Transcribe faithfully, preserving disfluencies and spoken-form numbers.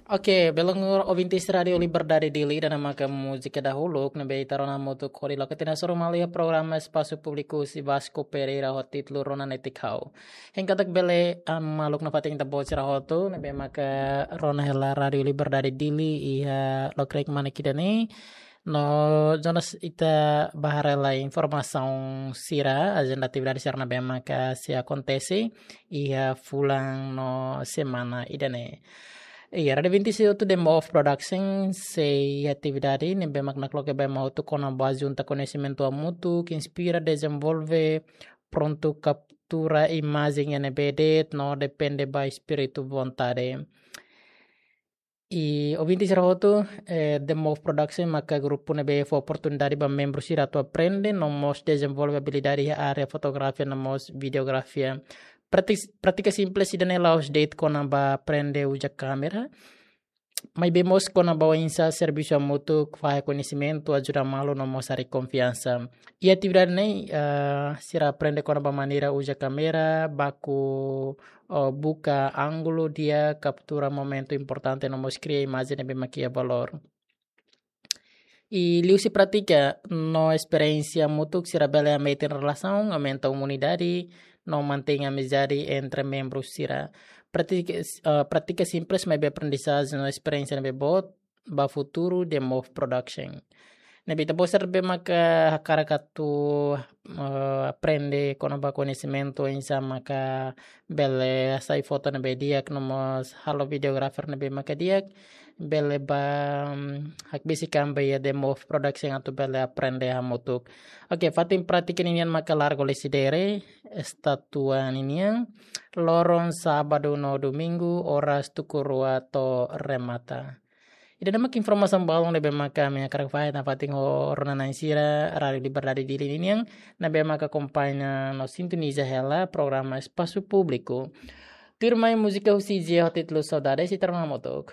Oke, belun ouvintes Rádiu Liberdade Dili, ida-ne'e maka múzika dahuluk ne'ebé ita rona hamutuk hodi loke tiha ona soru malu iha programa Espasu Públiku husi Vasco Pereira ho títulu Rona Netik Ha'u. Hein katak bele, ah, maluk nafatin ita-boot sira hotu ne'ebé maka rona hela Rádiu Liberdade Dili iha lokraik mane ida-ne'e. No jonas ita bá haree lai informasaun sira, ajenda atividade sira ne'ebé maka sei akontese iha fulan no semana ida-ne'e. Iha Rádiu vinte e seis The Move Production sei iha atividade ne'ebé mak nakloke ba ema hotu kona-ba junta koñesimentu hamutuk, inspira, dezenvolve, prontu kaptura imajen iha ne'ebé de'it no depende ba espíritu vontade. I ouvintes sira hotu, eh, The Move Production maka grupu ne'ebé fó oportunidade ba membru sira atu aprende no mós dezenvolve abilidade iha área fotografia no mós videografia. Prátik-, prátika simples ida-ne'e la'ós de'it kona-ba aprende uza kámera, maibé mós kona-ba oinsá servisu hamutuk, fahe koñesimentu, ajuda malu no mós harii konfiansa. Iha atividade ne'e, eh, sira aprende kona-ba maneira uza kámera, baku, oh, buka ángulu di'ak, kaptura momentu importante no mós kria imajen ne'ebé mak iha valór. I liuhusi prátika no esperiénsia hamutuk sira bele hametin relasaun, aumenta unidade no mantein amizade entre membru sira. Prátika, eh, prátika simples maibé aprendizajen no esperiénsia ne'ebé boot ba futuru The Move Production. Ne'ebé ita-boot sira ne'ebé maka hakarak atu, eh, aprende kona-ba koñesimentu oinsá maka bele hasai foto ne'ebé di'ak no mós halo videografia ne'ebé maka di'ak, bele bá, mm, hakbesik an ba iha The Move Production atu bele aprende hamutuk. Oke, fatin prátika ninian maka Largo Lecidere, estátua ninian, loron sábadu no domingu, oras tuku rua to'o remata. Ida-ne'e mak informasaun balun ne'ebé maka ami hakarak fahe nafatin ho rona-na'in sira Rádiu Liberdade Dili ninian, ne'ebé maka akompaña no sintoniza hela programa Espasu Públiku. Tuirmai múzika husi Jay ho títulu Saudades, ita rona hamutuk.